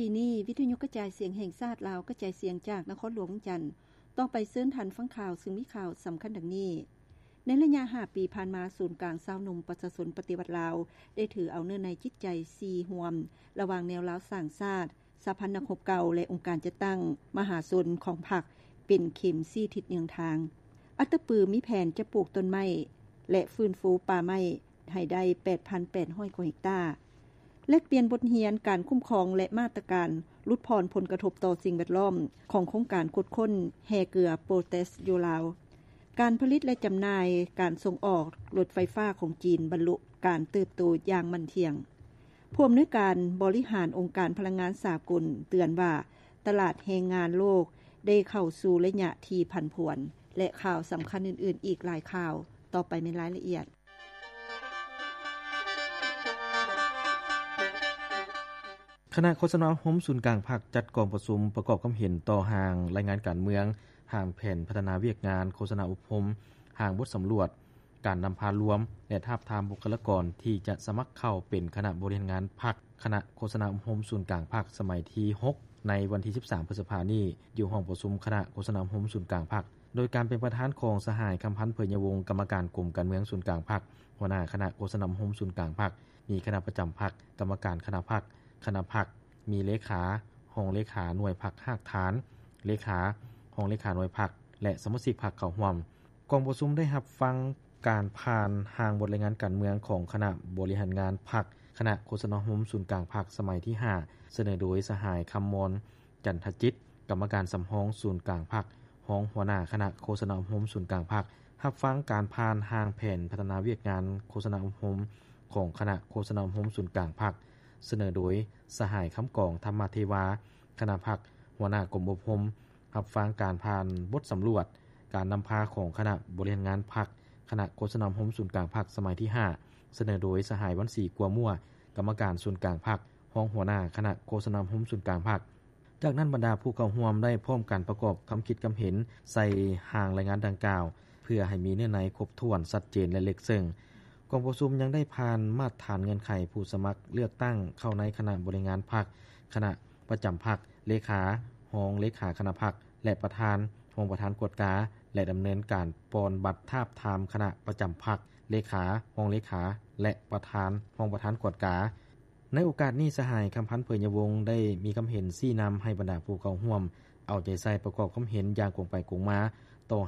ກີ້ນີ້ ວິທະຍຸກະຈາຍສຽງແຫ່ງຊາດລາວ ກະຈາຍສຽງຈາກນະຄອນຫຼວງວຽງຈັນ. ຕໍ່ໄປເຊີນທ່ານຟັງຂ່າວ ຊຶ່ງມີຂ່າວສຳຄັນດັ່ງນີ້. ໃນໄລຍະຫ້າປີຜ່ານມາ, ສູນກາງຊາວໜຸ່ມປະຊາຊົນປະຕິວັດລາວ ໄດ້ຖືເອົາເນື້ອໃນຈິດໃຈສີ່ຮ່ວມ ລະຫວ່າງແນວລາວສ້າງຊາດ, ສະຫະພັນນັກຮົບເກົ່າ ແລະ ອົງການຈັດຕັ້ງມະຫາຊົນຂອງພັກ ເປັນເຂັມຊີ້ທິດເຍືອງທາງ. ອັດຕະປືມີແຜນຈະປູກຕົ້ນໄມ້ ແລະ ຟື້ນຟູປ່າໄມ້ໃຫ້ໄດ້ ແປດພັນແປດຮ້ອຍກວ່າເຮັກຕາ. ແລກປ່ຽນບົດຮຽນການຄຸ້ມຄອງ ແລະ ມາດຕະການຫຼຸດຜ່ອນຜົນກະທົບຕໍ່ສິ່ງແວດລ້ອມ ຂອງໂຄງການຂຸດຄົ້ນແຮ່ເກືອໂປແຕສຢູ່ລາວ. ການຜະລິດ ແລະ ຈຳໜ່າຍ, ການສົ່ງອອກລົດໄຟຟ້າຂອງຈີນບັນລຸການເຕີບໂຕຢ່າງໝັ້ນທ່ຽງ. ຜູ້ອຳນວຍການບໍລິຫານອົງການພະລັງງານສາກົນເຕືອນວ່າ ຕະຫຼາດແຮງງານໂລກໄດ້ເຂົ້າສູ່ໄລຍະທີ່ຜັນຜວນ ແລະ ຂ່າວສຳຄັນອື່ນໆອີກຫຼາຍຂ່າວ. ຕໍ່ໄປແມ່ນລາຍລະອຽດ. ຄະນະໂຄສະນາອົບຮົມສູນກາງພັກ ຈັດກອງປະຊຸມປະກອບຄຳເຫັນຕໍ່ຮ່າງລາຍງານການເມືອງ, ຮ່າງແຜນພັດທະນາວຽກງານ, ໂຄສະນາອົບຮົມ, ຮ່າງບົດສຳຫຼວດການນຳພາລວມ ແລະ ທາບທາມບຸກຄະລາກອນທີ່ຈະສະໝັກເຂົ້າເປັນຄະນະບໍລິຫານງານພັກ, ຄະນະໂຄສະນາອົບຮົມສູນກາງພັກສະໄໝທີຫົກ ໃນວັນທີສິບສາມ ພຶດສະພານີ້ ຢູ່ຫ້ອງປະຊຸມຄະນະໂຄສະນາອົບຮົມສູນກາງພັກ ໂດຍການເປັນປະທານຂອງສະຫາຍ ຄຳພັນ ເຜີຍຍະວົງ ກຳມະການກົມການເມືອງສູນກາງພັກ, ຫົວໜ້າຄະນະໂຄສະນາອົບຮົມສູນກາງພັກ, ມີຄະນະປະຈຳພັກ, ກຳມະການຄະນະພັກ, ຄະນະພັກ, ມີເລຂາ, ຮອງເລຂາໜ່ວຍພັກຮາກຖານ, ເລຂາ, ຮອງເລຂາໜ່ວຍພັກ ແລະ ສະມາຊິກພັກເຂົ້າຮ່ວມ. ກອງປະຊຸມໄດ້ຮັບຟັງການຜ່ານຮ່າງບົດລາຍງານການເມືອງຂອງຄະນະບໍລິຫານງານພັກ, ຄະນະໂຄສະນາອົບຮົມສູນກາງພັກສະໄໝທີຫ້າ ສະເໜີໂດຍສະຫາຍ ຄຳມອນ ຈັນທະຈິດ ກຳມະການສຳຮອງສູນກາງພັກ, ຮອງຫົວໜ້າຄະນະໂຄສະນາອົບຮົມສູນກາງພັກ, ຮັບຟັງການຜ່ານຮ່າງແຜນພັດທະນາວຽກງານໂຄສະນາອົບຮົມຂອງຄະນະໂຄສະນາອົບຮົມສູນກາງພັກ ສະເໜີໂດຍສະຫາຍ ຄຳກອງ ທຳມະເທວາ ຄະນະພັກ, ຫົວໜ້າກົມອົບຮົມ, ຮັບຟັງການຜ່ານບົດສຳຫຼວດການນຳພາຂອງຄະນະບໍລິຫານງານພັກ, ຄະນະໂຄສະນາອົບຮົມສູນກາງພັກສະໄໝທີຫ້າ ສະເໜີໂດຍສະຫາຍ ວັນສີ ກົວມົວ ກຳມະການສູນກາງພັກ, ຮອງຫົວໜ້າຄະນະໂຄສະນາອົບຮົມສູນກາງພັກ. ຈາກນັ້ນບັນດາຜູ້ເຂົ້າຮ່ວມໄດ້ພ້ອມກັນປະກອບຄຳຄິດຄຳເຫັນໃສ່ຮ່າງລາຍງານດັ່ງກ່າວ ເພື່ອໃຫ້ມີເນື້ອໃນຄົບຖ້ວນ, ຊັດເຈນ ແລະ ເລິກເຊິ່ງ. ກອງປະຊຸມຍັງໄດ້ຜ່ານມາດຖານເງື່ອນໄຂຜູ້ສະໝັກເລືອກຕັ້ງເຂົ້າໃນຄະນະບໍລິຫານງານພັກ, ຄະນະປະຈຳພັກ, ເລຂາ, ຮອງເລຂາຄະນະພັກ ແລະ ປະທານ, ຮອງປະທານກວດກາ ແລະ ດຳເນີນການປ່ອນບັດທາບທາມຄະນະປະຈຳພັກ, ເລຂາ, ຮອງເລຂາ ແລະ ປະທານ, ຮອງປະທານກວດກາ. ໃນໂອກາດນີ້ ສະຫາຍ ຄຳພັນ ເຜີຍຍະວົງ ໄດ້ມີຄຳເຫັນຊີ້ນຳໃຫ້ບັນດາຜູ້ເຂົ້າຮ່ວມເອົາໃຈໃສ່ປະກອບຄຳເຫັນຢ່າງກົງໄປກົງມາ